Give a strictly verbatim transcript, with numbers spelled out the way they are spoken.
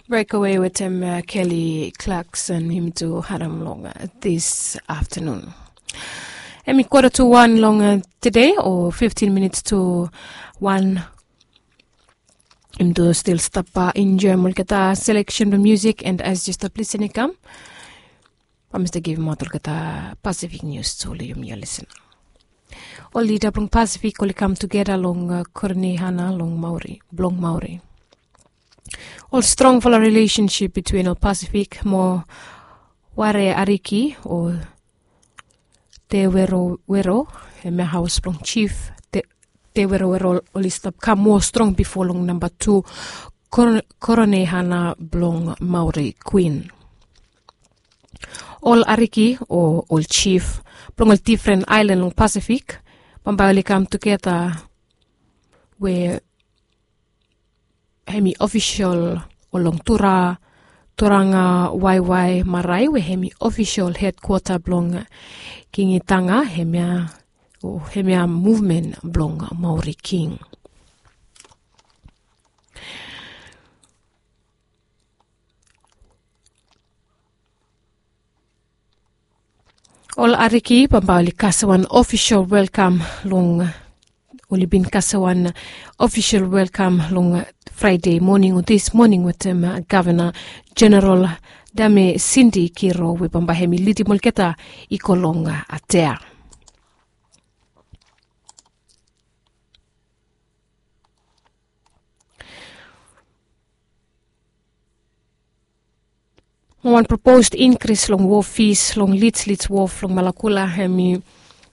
Breakaway wetem Kelly Clarkson him tu harim long this afternoon. Em i quarter to one long today o fifteen minutes to one. Im tu stil stap enjoim olgeta selection blong music and as yu stap lisin i kam, bamista givim aut olgeta Pacific news tu long yumi ol lisin. Ol lida blong Pacific oli kam tugeta long koronehana long maori blong maori. Ol strongfala rilesensip bitwin ol Pacific mo ware ariki o tewerowero, hemia haos blong chief tewerowero oli stap kam moa strong bifo long namba tu koronehana blong maori kwin. Ol ariki o ol chief blong ol difren aelan long Pasifik bambae oli kam tugeta we hem i ofisol o long tura turanga waiwai marae we hem i ofisol hedkwota blong kingitanga hemia o hemia muvmen blong maori king. Ol ariki bambae oli kasem wan ofisol welkam long oli bin kasem wan ofisol welkam long fraede moning o dis moning wetem gavana jeneral dame sindi kiro we bambae hem i lidim olgeta i go long atea. Wan proposed inkris long wof fis long litslits wof long malakula hem i